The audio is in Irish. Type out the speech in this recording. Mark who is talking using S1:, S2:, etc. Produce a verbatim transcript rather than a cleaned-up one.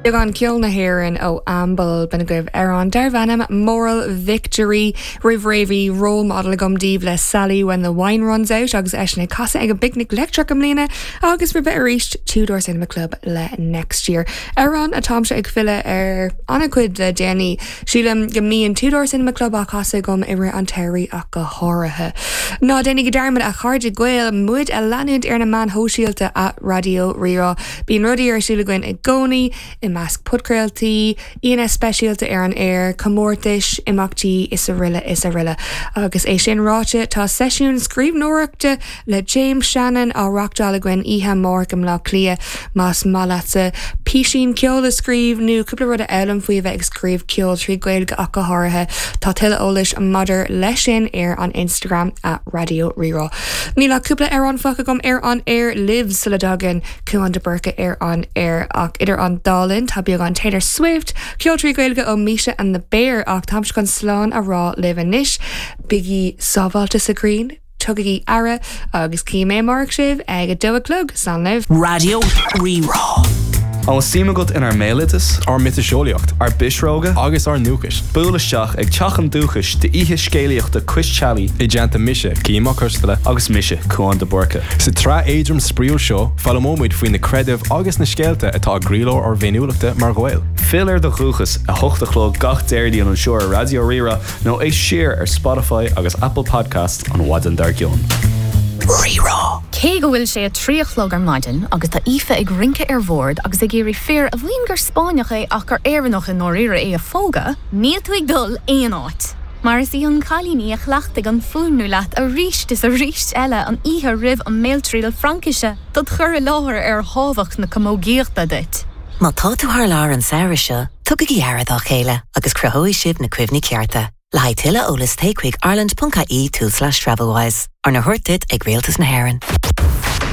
S1: Beagán ceol na hÉireann ó Amble b'in agaibh amhrán darb ainm Moral Victory roimh ré bhí Role Model agam daoibh le Sally when the wine runs out agus eisean ag casadh ag an bPicnic Leictreach i mbliana agus roimhe arís Two Door Cinema Club le next year. Amhrán atáimse ag filleadh ar an-chuid le déanaí sílim go mbíonn Two Door Cinema Club á chasadh agam i rith an tsamhraidh ach go háirithe. Ná déanaigí dearmad a chairde Gael muid a leanúint ar na meáin shóisialta at Raidió Rí-Rá. Bíonn rudaí ar siúl againn i gcónaí i measc podchraoltaí, aíonna speisialta ar an aer, comórtais, imeachtaí is araile is araile. Agus é sin ráite tá seisiún scríbhneoireachta le James Shannon á reáchtáil againn oíche amárach i mBleá Cliath más maith leatsa píosa ceoil a scríobh nó cúpla rud a fhoghlaim faoi bheith ag scríobh ceol trí Ghaeilge ach go háirithe tá tuilleadh eolais maidir leis sin ar an Instagram at Raidió Rí-Rá. Níl ach cúpla amhrán fágtha agam ar an aer libh sula dtagann Cuan de Burca ar an aer ach idir an dá linn tá beagán Taylor Swift, ceol trí Ghaeilge ó Misha and the Bear ach táim chun slán a rá libh anois, Bígí sábháilte sa ghrian, tugaigí aire agus cífidh mé amárach sibh ag a dó a chlog slán libh.
S2: Raidió Rí-Rá.
S3: An suim agat inár mbéaloideas,
S4: ár miotaseolaíocht
S3: ár bpisreoga,
S4: agus ár ndúchas.
S3: Buail isteach ag Teach an Dúchais d'oíche scéalaíochta Cois Teallaigh
S4: i dteannta mise Cian Mac Cosla
S3: agus mise Cuan de Burca.
S4: Sa tsraith éadrom spraíúil seo foghlaimeoimid faoi na creidimh agus na scéalta atá i gcroílár ár bhféiniúlachta mar Ghaeil.
S3: Fill ar do dhúchas a hocht a chlog gach Déardaoin anseo ar Raidió Rí-Rá nó éist siar ar Spotify agus Apple Podcast an mhaidin dár gcionn.
S2: Rí-Rá.
S5: Cé go bhfuil sé a trí a chlog ar maidin agus tá Aoife ag rince ar bhord agus ag iarraidh fear a mhaíonn gur Spáinneach é ach gur Éireannach i ndáiríre é a phógadh, níl tú ag dul aon áit. Mar is í an cailín í a chleachtaigh an fuaimniú leat arís is arís eile an oíche roimh an mbéaltriail Fraincise dod chur i láthair ar thábhacht na camógaíochta duit.
S6: Má tá tú thar lear an samhradh seo, tugaigí aire dá chéile agus cruthóidh sibh na cuimhní cearta. Le haghaidh tuilleadh eolais téigh chuig ireland.ie tulslais Travelwise, arna thabhairt duit ag Rialtas na hÉireann.